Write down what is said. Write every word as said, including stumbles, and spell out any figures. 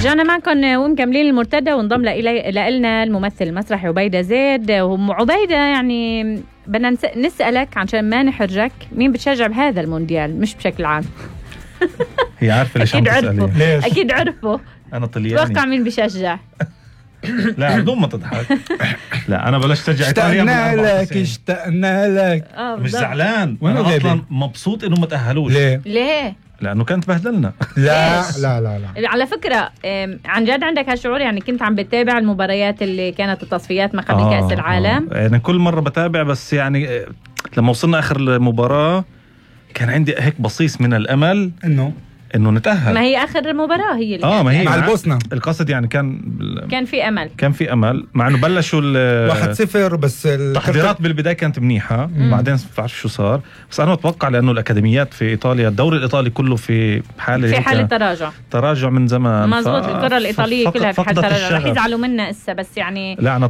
رجعنا معكم ومكملين المرتدى، وانضم لنا الممثل المسرحي عبيدة زيد. وعبيدة يعني بدنا نسألك عشان ما نحرجك، مين بتشجع بهذا المونديال مش بشكل عام؟ هي عارفة ليش عم تسألي؟ ليش؟ أكيد عرفوا. أنا طلياني. توقع مين بيشجع؟ لا بدون ما تضحك. لا أنا بلشت أشجع إيطاليا. اشتقنا لك اشتقنا لك. مش زعلان، أنا أصلا مبسوط إنه ما تأهلوش. ليه؟ ليه؟ لأنه كانت بهدلنا. لا لا لا لا. على فكرة عن جد عندك هالشعور؟ يعني كنت عم بتابع المباريات اللي كانت التصفيات ما قبل آه كأس العالم؟ آه. يعني كل مرة بتابع، بس يعني لما وصلنا آخر المباراة كان عندي هيك بصيص من الأمل إنه انه نتأهل. ما هي اخر مباراة هي اللي اه ما هي مع البوسنة. القصد يعني كان كان في امل كان في امل مع انه بلشوا واحد صفر، بس التحضيرات بالبداية كانت منيحة. مم. بعدين ما بعرف شو صار، بس انا اتوقع لانه الاكاديميات في ايطاليا، الدوري الايطالي كله في حالة في حالة تراجع تراجع من زمان. مظبوط. الكرة الايطالية كلها في حالة تراجع. رح يزعلوا منا اسا، بس يعني لا أنا